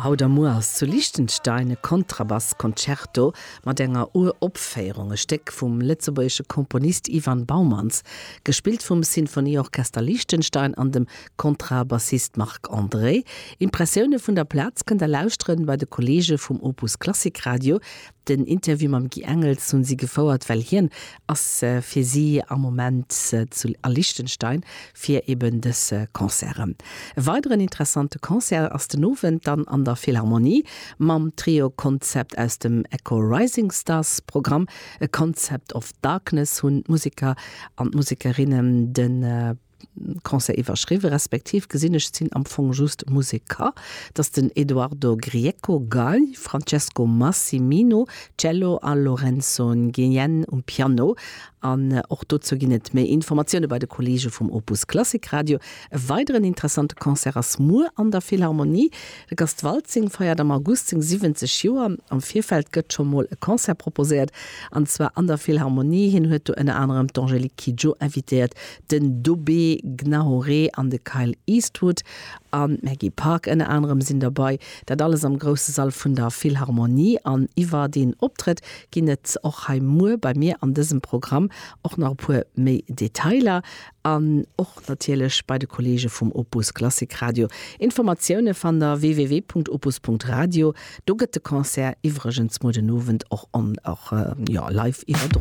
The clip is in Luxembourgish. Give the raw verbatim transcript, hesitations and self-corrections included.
Haut a muer ass zu Liechtenstein e Kontrabass-Concerto mat enger Uropféierung, e Stéck vum lëtzebuergesche Komponist Ivan Baumanns, gespillt vum Sinfonieorchester Liechtenstein an dem Kontrabassist Marc André. Impressioune vun der Plaz kënnt der lauschteren bei de Kolleege vum Opus Klassik Radio. Den Interview mam Guy Engels hunn si gefouert, well hien ass fir si am Moment zu a Liechtenstein fir eben dës Concerten. E weideren interessante Concert ass den Owend dann an der Philharmonie mam Trio Concept aus dem Echo Rising Stars Programm. A Concept of Darkness hunn d'Museker an d'Musekerinnen de Concert iwwerschriwwen, respektiv gesinn ech sinn am Fong just Museker, dat ass den Edoardo Grieco, Gei, Francesco Massimino, Cello a Lorenzo Nguyen um Piano. An och dozou ginn et méi Informatioune bei de Kolleege vum Opus Klassik Radio. E weideren interessante Concert ass muer an der Philharmonie. De Gast Waltzing feiert am August seng siwwenzeg Joer. Am Virfeld gëtt scho mol e Concert proposéiert, an zwar an der Philharmonie. Hien huet do ënner anerem d'Angélique Kidjo invitéiert, den Dobé Gnahoré an de Kyle Eastwood an d'Maggie Park ënner anerem sinn derbäi. Dat alles am grousse Sall vun der Philharmonie. An iwwer deen Optrëtt ginn et och hei muer bei mir an dësem Programm och nach e puer méi Detailer an och natierlech bei de Kolleege vum Opus Klassik Radio. Informatioune fannt der www.opus.radio. Do gëtt de Concert iwwregens muer den Owend och on och jo live iwwerdroen.